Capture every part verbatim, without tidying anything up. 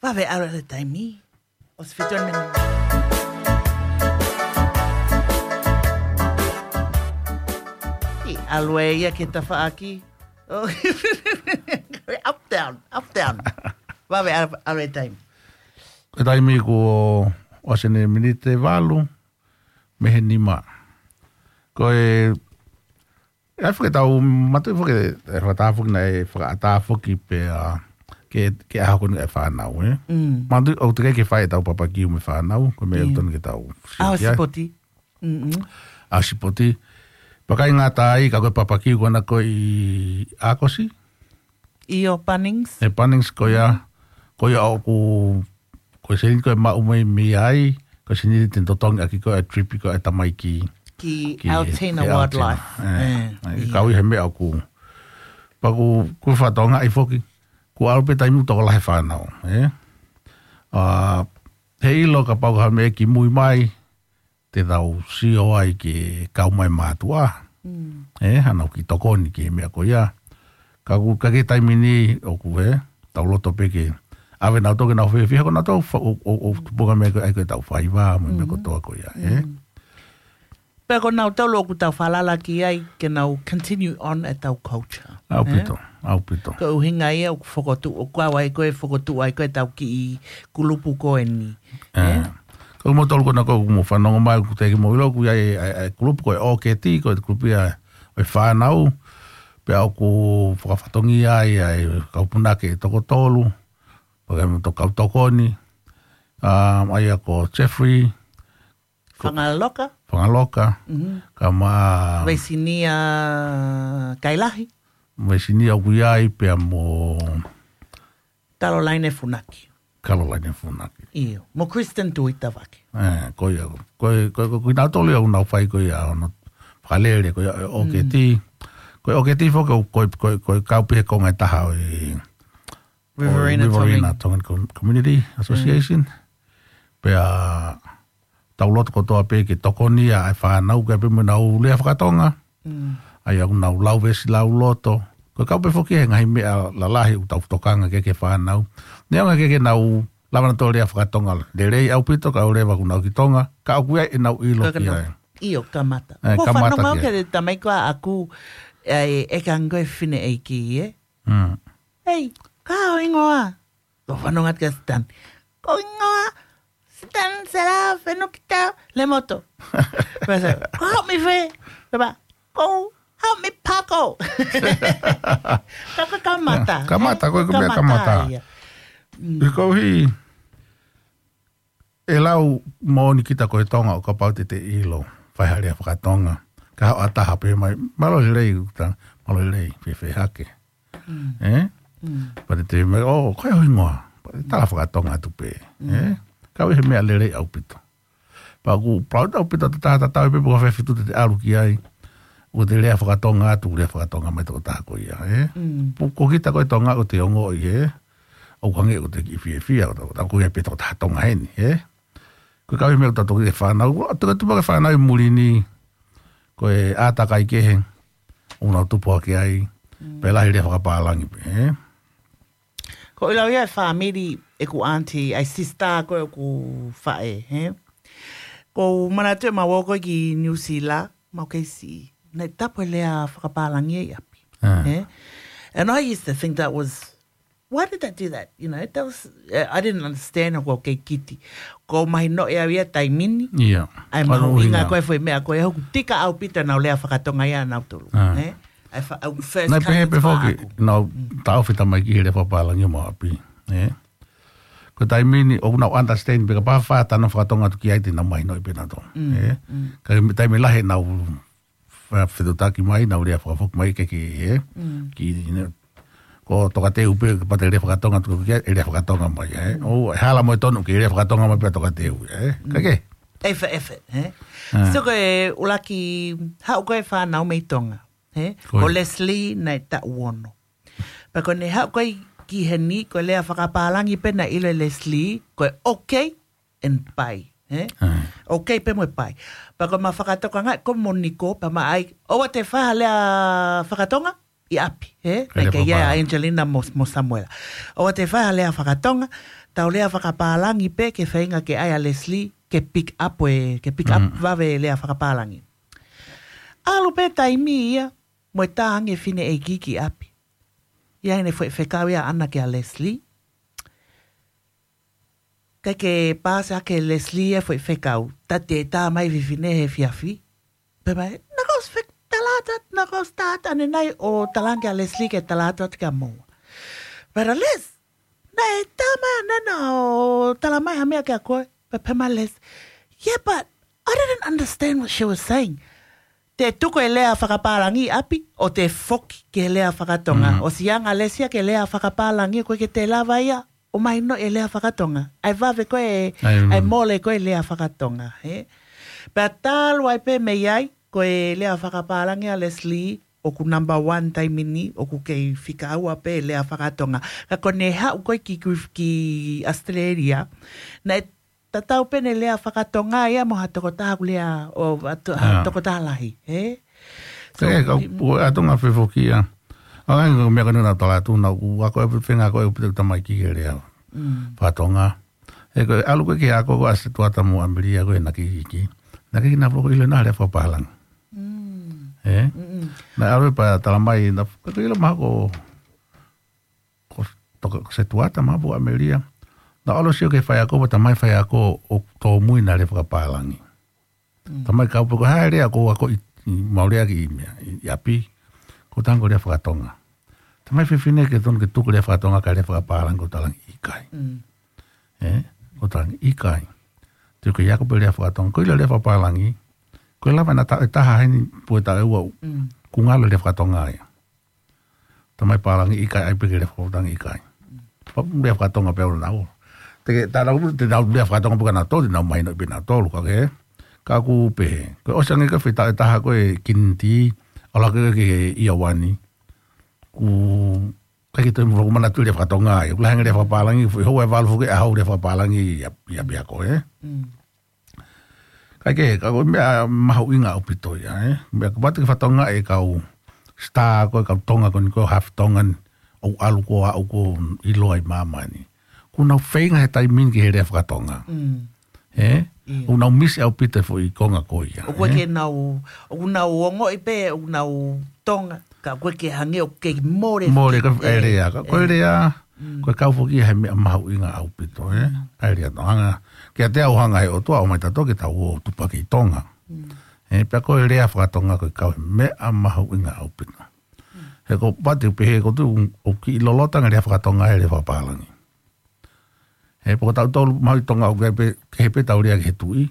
Vave ʻalu e taimi. ʻOsi fitu miniti. ʻAlu ē ia ki he tafaʻaki. Oh. Up, down, up, down. Vave ʻalu, ʻalu e taimi. Ko e taimi kuo ʻosi ʻeni miniti ʻe valu mei he nima. Ko e, ʻe ʻai foki ʻetau mātuʻaki foki, ʻe fakaʻatā foki naʻe fakaʻatā foki pea ke, ke ʻaho ko eni ʻa e fānau, ē? Mm. Mātuʻaki ʻoku teʻeki ke fai ʻetau papakiu mo e fānau, ko e meʻa ʻoku totonu ke tau sio ki ai. ʻAho sipoti. Mm-mm. ʻAho sipoti. Pea ʻikai ngata ai, ka ko e papakiu ko ena ko ē ʻi ʻAokosi. ʻIo, Bunnings. ʻE Bunnings ko ia, ko ia ʻoku, ko e sēniti ko ē ʻe maʻu mai mei ai, ko e sēniti te ne totongi ʻaki ko ē ʻa e trip ko ē ʻa e tamaiki ki, ki Altena Wildlife. ʻE, ʻe, ʻio. Kau ʻi he meʻa ʻoku. Pea ʻoku, ʻoku fakatokangaʻi foki, kuo ʻalu pē taimi ʻoku tokolahi e fānau, ē? ʻA, heiʻilo kapau ko ha meʻa kimui mai, te tau sio ai ke kau mai mātuʻa. Mm. ʻE, hano ki tokoni ki he meʻa ko ia. Ka ʻoku, ka ki he taimi ni ʻoku, ē, tau loto pē ke ʻave nautolu ke nau fiefia, ko nautolu fa-, ʻo, ʻo, ʻo tupunga meʻa ko ē ʻa ia ko ē ʻetau faiva, mo e meʻa kotoa ko ia, ē. Mm. Pea ko nautolu ʻoku tau falala ki ai, ke nau continue on ʻetau culture. ʻAupito, ʻaupito. Ko e ʻuhinga ia ʻoku fokotuʻu, ʻoku ʻave ai ko ē fokotuʻu ai ko ē ʻetau kiʻi kulupu ko eni. ʻE. Ko moutolu ko ena ʻoku mou fanongo mai, ʻoku teʻeki ke mou ʻilo, ʻoku ʻi ai e, e, e kulupu ko e ʻOketi, ko e kulupu ia ʻo e fānau, pea ʻoku fakafatongia ai, ʻa e kau punake ʻe toko tolu, pea mo e kau tokoni, ʻa, ʻa ia ko Jeffrey, Fangaloka. Fangaloka. Mhm. Ka ma Vaisinia Kailahi. Vaisinia ʻoku ʻi ai pea mo Caroline Funaki. Caroline Funaki. ʻIo. Mo Kristen Tuitavake. ʻE, ko ia. Ko e, ko e, ko e, ko kinautolu ia ʻoku nau fai ko ia ʻa hono fakalele, ko ia ʻa e ʻOketi. Mm. Ko e ʻOketi foki ko e, ko e, ko e, ko e kau pē he konga ʻe taha ʻo e Riverina ʻo e Riverina Tongan. Tongan Com-, Community Association. Mm. Pea tau loto kotoa pē ke tokonia ʻa e fānau, ke pē mo ʻenau lea fakatonga. Mm. ʻA ia ʻoku nau lau veesi lauloto. Ko e kau pē foki he ngaahi meʻa lalahi ʻoku tau tokanga ki ai ki he fānau. Neongo ʻikai ke nau lava nautolu lea fakatonga lelei ʻaupito, ka ʻoku leva ʻoku nau ki Tonga, ka ʻoku ʻi ai ʻenau ʻilo ki ai. ʻIo, kamata. ʻE, kamata ki ai. Ko e fanongo ki he tamaiki ko ē ʻaʻaku, ʻe, ʻe kango e fineʻeiki, ē? Mm. Hei, ko e hā ho hingoa? Ko e fanongo atu kia Stan. Ko e hingoa Stan Sela Fenukita Lemoto. Pea sa, ko e hā ho meʻi fē? Pea, ko e hā ho meʻi pako? Ka ko e kamata. Kamata, ē? Ko e meʻa kamata. Kamata ia. Mm. He ko e hā, ʻe lau moʻoni kita ko e Tonga ʻo kapau te te ʻilo, fai ha lea fakatonga. Ka haʻu ha taha pehē mai, mālō e lelei, uta, mālō e lelei, fēfē hake. Mm. Ē? Mm. Pea te te mai, ʻo, ko e hā ho hingoa? Pea te tala fakatonga atu pē. Mm. Ē? Ka ʻoku ʻi ai e meʻa lelei ʻaupito. Pea ʻoku proud ʻaupito ʻa e taha tatau pē pe ko fē feituʻu te te ʻalu ki ai. ʻOku te lea fakatonga atu, lea fakatonga mai tokotaha ko ia, ē? Mm. Pea ko kita ko e Tonga ʻoku te ongoʻi, ē? ʻOku hangē ʻoku te kiʻi fiefia, ʻoku te, ʻoku te ʻoku ʻi ai pē tokotaha Tonga heni, ē? Ko e kau ʻi he meʻa ʻoku tau toki fānau, ʻoku tau tupu hake fānau ʻi muli ni, ko e ʻātakai kehe ʻoku nau tupu hake ai, mm, pea lahi lea fakapālangi pē, ē? Ko e lau ia e fāmili ʻeku aunty, ʻa e sister ko ē ʻeku faʻē, ē? Ko u manatu ʻemau ō ko ē ki New Zealand, mau kei siʻi, naʻe tapu e lea fakapālangi ʻi ʻapi, ē? And I used to think that was, why did they do that? You know, that was, uh, I didn't understand ʻoku ou kei kiti. Ko u mahinoʻi au ia taimi ni. ʻIa. ʻA e mahuʻinga ko e foʻi meʻa ko ē, ʻoku tika ʻaupito ʻenau lea fakatonga ia ʻanautolu. Ē? ʻA e fa-, ʻa e first cousin ʻaʻaku. Naʻe pehē pē foki, nau taʻofi tamaiki he lea fakapālangi ʻo ʻapi. Ē? Ko e taimi ni, ʻoku nau understand, pea kapau ʻe fai ha talanoa fakatonga atu ki ai te nau mahinoʻi pē nautolu. Ē? Ka ko e taimi lahi ʻenau fa-, fetuʻutaki mai, nau lea fakafoki mai ke ke, ē? Ki, ne, ko tokateu pē, kapau te lea fakatonga, tuku ki ai, ʻe lea fakatonga mai, ē? ʻO, ʻe hala mo e tonu ke lea fakatonga mai pē tokateu, ē? Ka ke? ʻEfe, ʻefe, ē? So ko e ʻuluaki, haʻu ko ē fānau mei Tonga, ē? Ko Leslie naʻe taʻu ono. Pea ko ʻene haʻu ko ē ki heni, ko e lea fakapālangi pē naʻe ʻilo ʻe Leslie, ko e okay and bye, ē? Okay pē mo e bye. Pea ko ʻema fakatokangaʻi ko Moniko, pea ma ʻai, ʻoua te fai ha lea fakatonga? ʻi ʻapi, ē? Naʻe ʻikai ke ʻi ai ʻa Angelina mo, mo Samuela. ʻOua te fai ha lea fakatonga, tau lea fakapālangi pē ke feinga ke ʻai ʻa Leslie ke pick up ē, ke pick up vave e lea fakapālangi. ʻAlu pē taimi ia, mo e tā ange fineʻeiki ki ʻapi. ʻI ai ʻene foʻi fekau ia ʻaʻana kia Leslie. ʻIkai ke paasi ʻaki ʻe Leslie e foʻi fekau, tā te tā mai fefine he efiafi. Pea mai, naʻá ku ʻosi fek-, tala atu, naʻá ku ʻosi tā atu ʻanenai ʻo tala ange kia Leslie ke tala atu atu kia moua. Pea Les, naʻe tā mai ʻanenai ʻo tala mai ha meʻa kia koe. Pea pehē mai Les, yeah, but I didn't understand what she was saying. Te tuku e lea fakapālangi ʻi ʻapi, ʻo te foki ki he lea fakatonga. ʻOsi anga Les ia ki he lea fakapālangi, ʻoku ʻikai ke te lava ia ʻo mahinoʻi e lea fakatonga. ʻAi vave ko ē, ʻai mole ko ē lea fakatonga, ē? Pea talu ai pē mei ai, ko e lea fakapālangi ʻa Leslie, ʻoku number one taimi ni, ʻoku kei fika ua pē lea fakatonga. Ka ko ʻene haʻu ko ē ki, ki, ki Australia, naʻe tatau pē ʻene lea fakatonga ia mo ha tokotaha ʻoku lea, ʻo, ha to-, ha tokotaha lahi, ē? So, ē, ka, ʻoku ʻatonga fefoki ia. ʻA ia, ko e meʻa ko eni naʻá ku tala atu, naʻá ku ako e fenga ko e upi tamaiki ke lea fakatonga. Ē, ko e ʻalu ko ē ki he ako ko ē ʻa Setuata mo ʻAmelia ko ē naʻe kei iiki. Naʻe kei na folo ko ʻilo na lea fakapālangi. Ē? Naʻe ʻalu pē tala mai, naʻe kei ʻilo mahalo ko, ko toka, ko Setuata mahalo pe ko ʻAmelia. Naʻe ʻalu ʻo sio ki he faiako, pea tā mai faiako ʻoku tōmui na lea fakapālangi. Tā mai kau pē ko e hā e lea ʻoku ako ʻi, ʻi Māori ʻaki ʻi meʻa, ʻi, ʻi ʻapi, ko e tango lea fakatonga. Tā mai fefine ke tonu ke tuku lea fakatonga kae lea fakapālangi, ko e talange ʻikai. Ē? Ko e talange ʻikai. Te ke ako pē lea fakatonga. Ko e ʻilo lea fakapālangi, ko e lava na ta-, e taha heni pe ko e taha ʻe ua ʻoku ngalo lea fakatonga ia. Tā mai pālangi ʻikai, ʻai pē ke lea fakatonga ʻikai. Pea lea fakatonga pē ʻo nau. Te ke, tā nau, te nau lea fakatonga pē kia nautolu, te nau mahinoʻi pē nautolu, ka ke, ka ʻoku pehē. Ko e ʻosi ange ko e fita e taha ko e kiniti, ʻalu hake ki he year one. ʻOku ʻikai ke toe mo manatu lea fakatonga ia. ʻOku lahi ange lea fakapālangi, foʻi houa ʻe valu foki ʻaho lea fakapālangi ia, ia pea ko ē. Kae kehe, ka ko e meʻa mahuʻinga ʻaupito ia, ē? Meʻa kapau te ke fakatonga e kau star ko ē, kau Tonga ko eni ko e half Tongan, ʻoku ʻalu ko ē ʻo aʻu ko ē ʻo ʻilo ai māmani. ʻOku nau feinga he taimi ni ki he lea fakatonga. Ē? ʻIo. ʻOku nau misi ʻaupito e foʻi konga ko ia, ʻoku ʻikai ke nau, ʻoku nau ongoʻi pē, ʻoku nau Tonga, ka ʻoku ʻikai ke hangē ʻoku kei mole. Mole ka e lea, ka ko e lea, ko e kau foki ia he meʻa mahuʻinga ʻaupito, ē? ʻA e lea Tonga. Kiate au hanga he ʻOtua ʻo mai tato ke tau ō tupa ki Tonga. Ē, pea ko e lea fakatonga ko e kau he meʻa mahuʻinga ʻaupito. He ko pati pē he ko tu ʻoku kiʻi lolota ange lea fakatonga he lea fakapālangi. He poko tau tolu mahuʻi Tonga ʻoku ʻikai pē, kehe pē tau lea ki he tuʻi,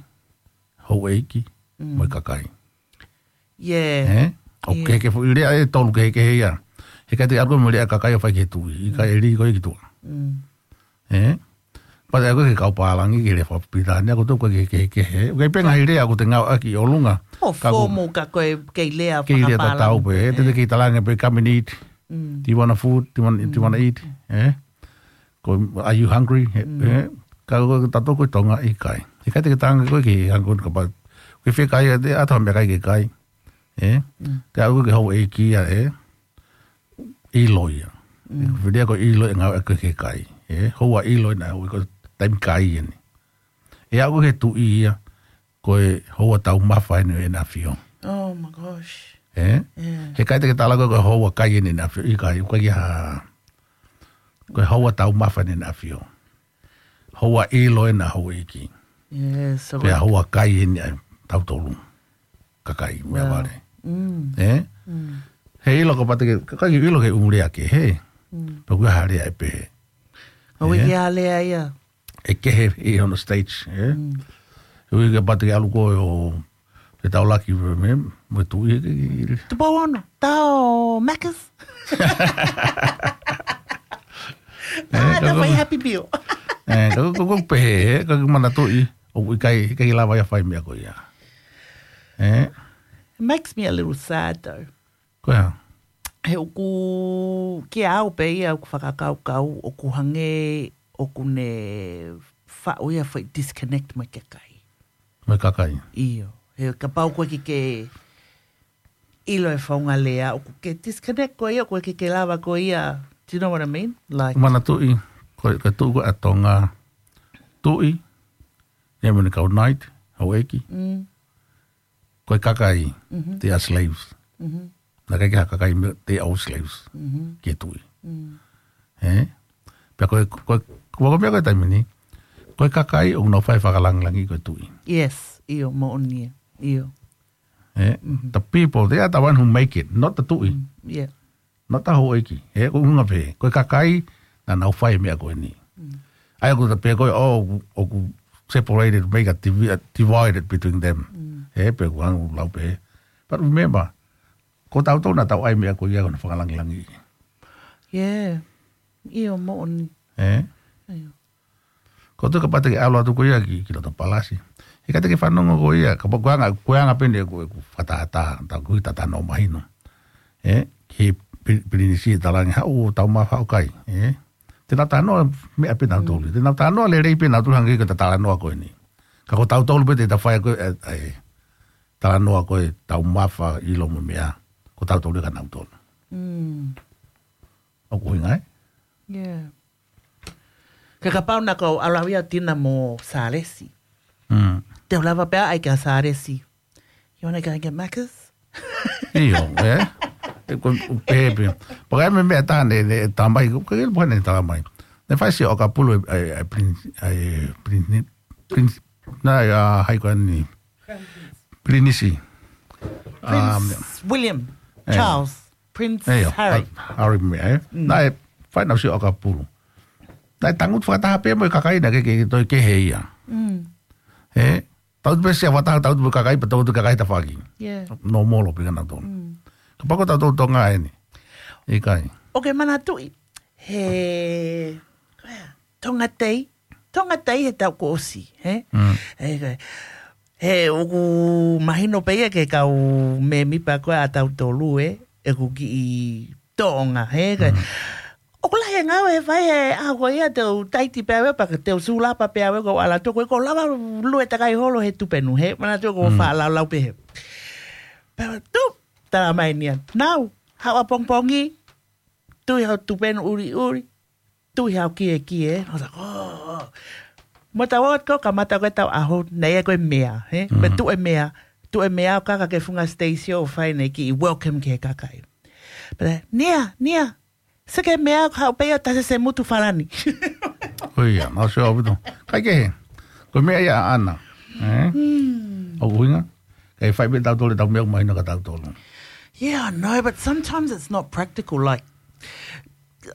houʻeiki, mo e kakai. Ē? ʻOku kehe ke foʻi lea ʻe tolu kehekehe ia. He ʻikai te ke ʻalu mo e lea kakai ʻo fai ki he tuʻi. ʻIkai, ʻe lī koe ki tuʻa. Ē? Pea te ʻalu ki he kau pālangi ki he lea fakapilitānia ko e tau ko e kehekehe. ʻOku ʻikai pē ngaahi lea ʻoku te ngāueʻaki ʻi ʻolunga. ʻO ka ko e fomu ka ko e kei lea fakapālangi. Kei lea tatau pē. Ē, te te kei talaange pē come and eat. Do you want a food? Do you want, do you want to eat? Ē? Ko, are you hungry? He, he, ka ko tato ko e Tonga ʻikai. ʻIkai te ke talaange ko e ke hungry kapau. Ke fie kai ʻa e ʻato ha meʻakai ke kai. Ē? Te aʻu ki he houʻeiki ia, ē? ʻIlo ia. Ko e lea ko e ʻilo ʻe ngāueʻaki ki he kai. Ē? Houa ʻilo ʻena houʻeiki ko e taimi kai eni. ʻE aʻu ki he tuʻi ia, ko e houa taumafa eni ʻo ʻEne ʻAfio. Oh my gosh. Ē? He ʻikai te ke talaange ko e houa kai eni ʻEne ʻAfio. ʻIkai, ʻikai ha. Ko e houa taumafa eni ʻEne ʻAfio. Houa ʻilo ʻena houʻeiki. Pea houa kai eni ʻa tautolu. Kakai, meʻavale. Ē? He ʻilo ko pati ke, kakai ʻilo ke ʻū lea kehe. Pea ʻoku ʻi ai ha lea ʻe pehē. ʻOku ʻi ai ha lea ia. ʻE kehe ʻi hono stage, ē? ʻOku ʻikai pati ke ʻalu ko ē ʻo te tau laki mo e, mo e tuʻi, ē, ke, ke, ke. Tupou ono, tau Macca's. Ē, ka ko e fai Happy Meal. Ē, ka ko e, ko e pehē, ē, ka ko e manatuʻi, ʻoku ʻikai, ʻikai lava ia fai meʻa ko ia. Ē? It makes me a little sad, though. Ko ia. He ʻoku, kia au pē ia ʻoku fakakaukau, ʻoku hangē, ʻoku ne faʻu ia foʻi disconnect mo e kakai. Mo e kakai. ʻIo. He kapau ko e ke, ke, ʻilo e founga lea, ʻoku ke disconnect ko ia, ʻoku ke ke lava ko ia. Do you know what I mean? Like, Manatuʻi, ko, ko e tuʻi ko ē ʻa Tonga, tuʻi, ia mo e kau knight, houʻeiki. Mm. Ko e kakai, they are slaves. Mm-hmm. Naʻe ʻikai ke ha kakai mo e, they are all slaves. Mm-hmm. Ki he tuʻi. Mm. Ē? Pea ko e, ko e, ko e, ko e meʻa ko e taimi ni, ko e kakai ʻoku nau fai e fakalāngilangi ko e tuʻi. Yes, ʻio, moʻoni ia. ʻIo. Ē? Mm-hmm. The people, they are the one who make it, not the tuʻi. Mm, yeah. Not the houʻeiki. Ē, ko e ʻuhinga pē, ko e kakai, naʻa nau fai e meʻa ko eni. Mm. ʻA ia ʻoku ta pehē ko ē, oh, ʻoku, ʻoku separated, make a divi-, a divided between them. Mm. Ē, pea ʻoku hangē ʻoku lau pē. But remember, ko tautolu naʻa tau ʻai e meʻa ko ia ko hono fakalāngilangiʻi. Yeah. ʻIo, moʻoni. Ē? ʻIo. Ko e tuʻu kapau te ke ʻalu atu ko ia ki, ki loto palasi. He ka te ke fanongo ko ia, kapau ko e anga, ko e anga pē eni ʻeku, ʻeku fakatātā, tau kui tatano mahino. Ē, ki he Pi-, Pilinisi ʻe talaange haʻu, tau mafa haʻu kai, ē. Te nau talanoa meʻa pē nautolu. Mm. Te nau talanoa lelei pē nautolu hangē ko e talanoa ko eni. Ka ko tautolu pē te ta fai ko e, ē, ē, talanoa ko e tau mafa ʻilo mo e meʻa. Ko tautolu ka nautolu. Mm. ʻOku ʻuhinga, ē? Yeah. Ke kapau naʻa ku ʻalu au ia ʻo tina mo Sālesi. Mm. Te u lava pē ʻai kia Sālesi. You wanna go and get Macca's? ʻIo, ē? ʻE ko, ko pē pē. Pea ko e meʻa, meʻa taha naʻe, naʻe tala mai, ko e meʻa naʻe tala mai. Naʻe fai siʻi ʻokapulu ʻa e, ʻa e, ʻa e Prin-, ʻa e Prin-, Prin-, naʻe, ʻa, hai ko eni. Pilinisi. Prince Um, William, ē. Charles, Prince ʻIo, Harry. Ha-, Harry meʻa, ē? Mm. Naʻe fai naʻa siʻi ʻokapulu. Naʻe tangutu fakataha pē mo e kakai naʻe ʻikai ke, ke toe kehe ia. Mm. Ē? Tangutu pē siʻa fakataha, tangutu mo e kakai, pea tangutu kakai tafaʻaki. Yeah. Nōmolo pē kinautolu. Mm. Kapau ko tautolu Tonga eni. ʻIkai. ʻOku ke manatuʻi. He, Tonga Day. Tonga Day he taʻu kuo ʻosi, hē? Mm. He, he, he ʻoku mahino pē ia ki he kau mēmipa ko ē ʻa tautolu, ē? ʻEku kiʻi tōʻonga, hē? Mm. ʻOku lahi e ngāue ʻe fai he ʻaho ko ia te u taiti pē au ē, pea te u sulapa pē au ē ko e ʻalu atu ko ē, ʻoku lava lue takai holo he tupenu, hē? Manatuʻi ʻoku Mm. faʻa laulau pē hē. Pea tuʻu, tala mai Nia. Nau, haʻu ʻapongipongi, tui hau tupenu ʻuliʻuli, tui hau kiekie, ē. I was like, oh, oh. Mo tau ot ko kamata ko e tau ʻaho, naʻe ʻi ai ko e meʻa, hē? Mm. Pea tuʻu e meʻa, tuʻu e meʻa ʻo kaka ki he funga siteisio ʻo fai ʻene kiʻi welcome ki he kakai. Pea, Nia, Nia, sio ki he meʻa ʻoku haʻu pē ia ʻo tasi se mutu falani. Ko ia, mau sio ʻaupito. ʻIkai ke hē. Ko e meʻa ia ʻaʻana. Ē? Hmm. ʻOku ʻuhinga. Kae fai pē tautolu ʻetau meʻa ʻoku mahino kia tautolu. Yeah, I know, but sometimes it's not practical. Like,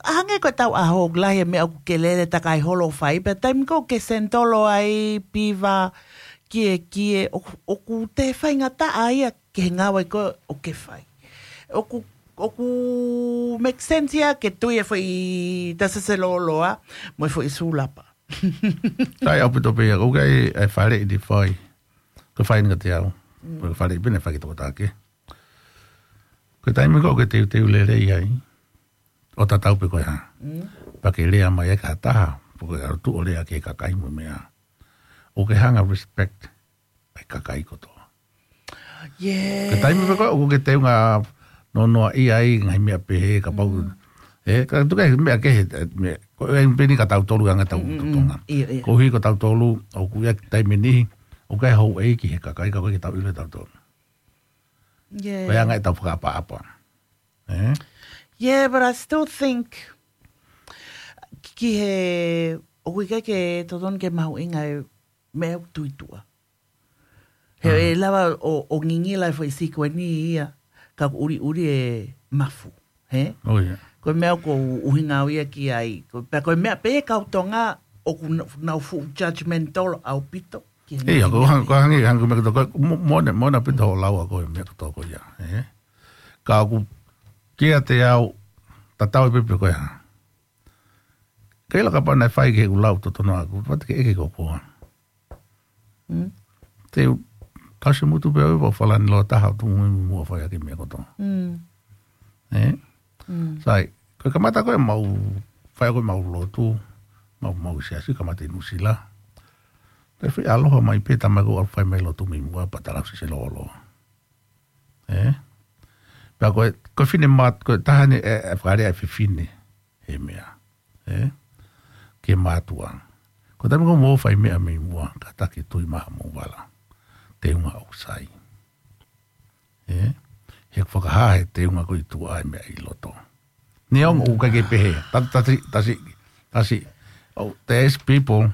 hangē ko e tau ʻaho, lahi e meʻa ʻoku ke lele takai holo ʻo fai, pea taimi ko ē ʻoku ke senitolo ai, piva, kiekie, ʻoku, ʻoku toe faingataʻa ia ki he ngāue ko ē ʻoku ke fai. ʻOku, ʻoku make sense ia ke tui e foʻi tasi se lōloa, mo e foʻi sulapa. Sai ʻaupito pē ia, ʻoku ʻi ai e faleʻi naʻe fai. Ko e fai ʻeni kiate au. Mm. Ko e faleʻi pē naʻe fai ki he tokotaha kehe. Ko e taimi ko ē ʻoku ke teuteu lelei ai, ʻo tatau pē ko e hā. Mm. Pea ke lea mai ai ki ha taha, pe ko e ʻalu atu ʻo lea ki he kakai mo e meʻa. ʻOku ke hanga respect ʻa e kakai kotoa. Yeah. Ko e taimi pē ko ē ʻoku ke teunga nonoaʻia ai ngaahi meʻa pehē kapau. Mm. Ē, ka tuku ai meʻa kehe, ē, meʻa, ko e ʻai pē eni kia tautolu ʻa e anga ʻetau Mm, mm, mm. Tonga. ʻIo, ʻio. Koeʻuhi ko tautolu, ʻoku ʻi ai e taimi ni, ʻoku ʻikai houʻeiki he kakai, ka ʻoku ʻikai ke tau ʻilo tautolu. Yeah. Ko e anga ʻetau fakaʻapaʻapa. Ē? Yeah, but I still think ki he, ʻoku ʻikai ke totonu ke mahuʻinga e meʻa ʻoku tuʻituʻa. He Mm. ʻe lava ʻo, ʻo ngingila e foʻi sikueni ia, ka ʻoku ʻuliʻuli e mafu, hē? Oh, yeah. Ko e meʻa ʻoku ou ʻuhinga au ia ki ai. Ko, pea ko e meʻa pē kau Tonga ʻoku na-, nau fuʻu judgmental ʻaupito ki he Ia, ko hang-, ko hangē, hangē ko e meʻa kotoa ko ē, mo-, mona, mona pē ʻetau lau ko e meʻa kotoa ko ia, ē? Ka ʻoku kiate au, tatau ai pē pe ko e hā. Kei la kapau naʻe fai ki heʻeku lau totonu ʻaʻaku, pea te ke ʻeke ko koe. Mm. Te u tasi mutu pē au ʻo falani loa taha ʻo tuʻu muimui muʻa ʻo fai ʻaki e meʻa kotoa. Mm. Ē? Mm. Sai, ko e kamata ko ē ʻemau, fai ko ē ʻemau lotu, ʻemau, ʻemau siasi kamata ʻi Nuʻusila. Te fai ʻaloha mai pē tamai ko ē ʻo fai mai lotu muimui muʻa pea talasi se lōloa. Ē? Pea ko e, ko e finemātuʻa, ko e taha eni e, e fakalea e fefine he meʻa. Ē? Ki he mātuʻa. Ko e taimi ko ē ʻoku mou fai meʻa mei muʻa, kātaki tui mai hoʻomou vala. Teunga ʻoku sai. Ē? He ʻoku fakahā he teunga ko ē ʻi tuʻa e meʻa ʻi loto. Neongo ʻoku ʻikai ke pehē. Tasi, tasi, tasi, tasi. Oh, there's people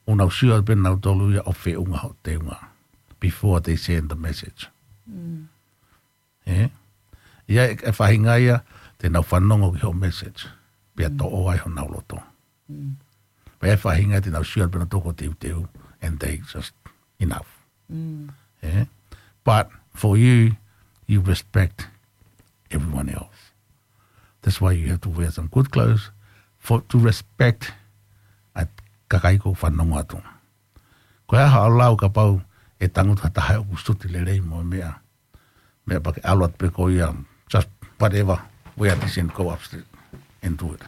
ʻoku nau sio pē nautolu ia ʻo feʻunga hoʻo teunga before they send the message. Ē? ʻA ia e, e faʻahinga ia te nau fanongo ki hoʻo message. Pea toʻo ai honau loto. Pea e faʻahinga te nau sio pē nautolu ko e teuteu, and they just enough. Ē? But for you, you respect everyone else. That's why you have to wear some good clothes for, to respect ʻa e kakai ʻoku fanongo atu. Ko e hā haʻo lau kapau ʻe tangutu ha taha ʻoku suti lelei mo e meʻa. Meʻa pea ke ʻalu atu pē koe ia, just whatever, wear this and go upstairs and do it.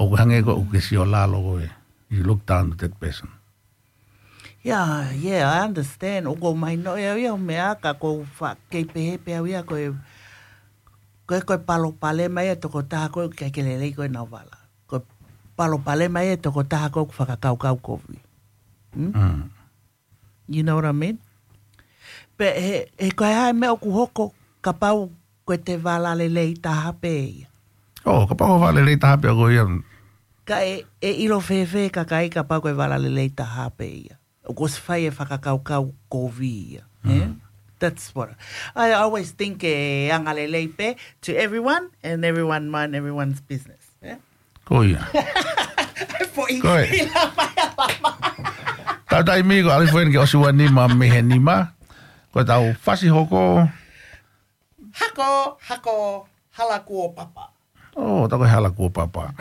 ʻOku hangē ko ē ʻoku ke sio lalo koe, you look down to that person. Yeah, yeah, I understand. ʻOku ou mahinoʻi au ia ʻo meʻa ka ʻoku ou faʻa kei pehē pē au ia ko e, ko e, ko e palopalema ia e tokotaha ko ē ʻoku ʻikai ke lelei ko ē ʻenau vala. Ko e palopalema ia e tokotaha ko ē ʻoku fakakaukau kovi. You know what I mean? Pea he, he ko e hā e meʻa ʻoku hoko kapau ko e te vala lelei taha pē ia. Oh, kapau ko e vala lelei taha pē ko ia. Ka ʻe, ʻe ʻilo fēfē e kakai kapau ko e vala lelei taha pē ia. ʻOku ʻosi fai e fakakaukau kovi ia. Ē? That's what I, I always think e anga lelei pē to everyone and everyone mind everyone's business. Ē? Ko ia. Foʻi Ko e. ʻIla mai a lama. Tau taimi ko e ʻalu foʻi eni ki he ʻosi ua nima mei he nima. Ko e tau fasi hoko. Hako, hako, hala kuo papa. Oh, tau ko e hala kuo papa.